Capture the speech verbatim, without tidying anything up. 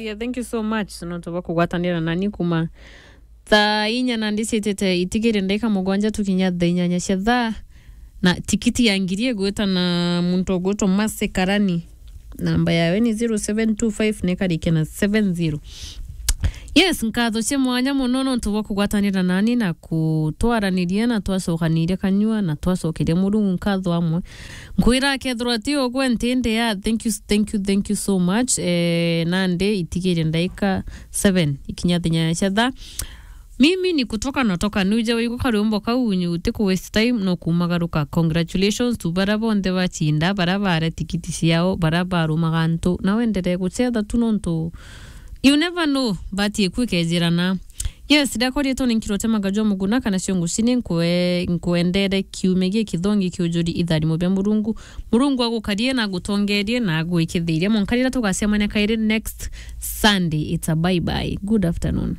Yeah, thank you so much nontu bwa kugwatanira nani kuma thaa inya na ndicitite itigiri ndaika mugwanja tukinya thaa inyanya cia thaa. Na tikiti ya ngiri igwita na muntu ugwitwa Mercy Karani. Namba yawe ni zero seven two five na ikarikia na seven zero. Yes, nkatho cia mwanya muno nontu bwa kugwatanira nani na kutwaraniria na twacokaniria kanyua na twacokeria Murungu nkatho amwe. Nkwira akethirwa ti ugwe ntindi ya, thank you, thank you, thank you so much. Eh, nandi itigire ndaika seven ikinya thinya cia thaa. Mimi ni kutoka natoka, nuja wigua karwimbo kau nyu uti ku waste time no kumagaruka. Congratulations to bara bonthe bachinda, bara bare tikiti ciao, bara barumaga antu. Na wenderee gucetha tu nontu you never know, bati iku ikejirana. Yes, ndakwa rietwa ni Nkirwa Temagajwa Muguna kana cio ngucini nkwe-, nkwendere kiumia giki thongi kiujuri itharimo bia Murungu. Murungu agukarie na agutongerie na agwikithirie. Mwanka riria tugacemania kairi next Sunday, it's a bye bye. Good afternoon.